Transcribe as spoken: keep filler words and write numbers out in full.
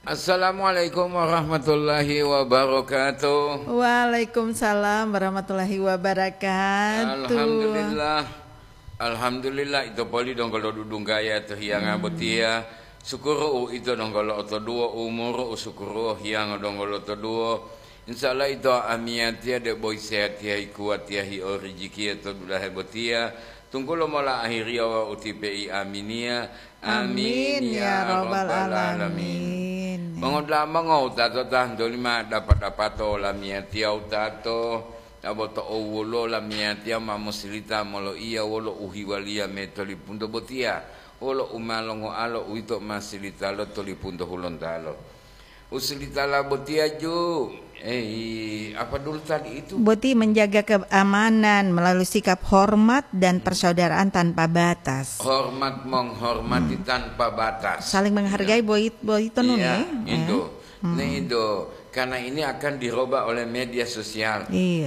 Assalamualaikum warahmatullahi wabarakatuh. Waalaikumsalam warahmatullahi wabarakatuh. Alhamdulillah. Alhamdulillah, ito poli donggo lodudunggaya to hiyanga botiya. Sukuru u ito donggo lo'otoduwo umuru, u sukuru u hiyanga donggo lo'otoduwo. Insya Allah ito amiyatiya debo isehatiya, ikuwatiya, hi'o rijikiya to dulahe botiya. Tunggulo mola ahiriya wawu utipe'i aminiya. Amin, ya rabbal alamin. Mongodula'a mongowutato ta ntolima dapa-dapato lamiyatiya wutato, abo to owulo lamiyatiya ma mosilita moloiya wolo uhiwaliya me tolipunto botiya, wolo u ma longoalo uwito ma silitalo tolipunto hulontalo. Usilitala botiya ju, eh, apa dulu tadi itu? Boti menjaga keamanan melalui sikap hormat dan persaudaraan tanpa batas. Hormat menghormati tanpa batas. Saling menghargai. Iya. Boit-, boito nun, iya, ya? Itu. Eh. Hmm. Nah, itu. Karena ini akan diroba oleh media sosial. Iya.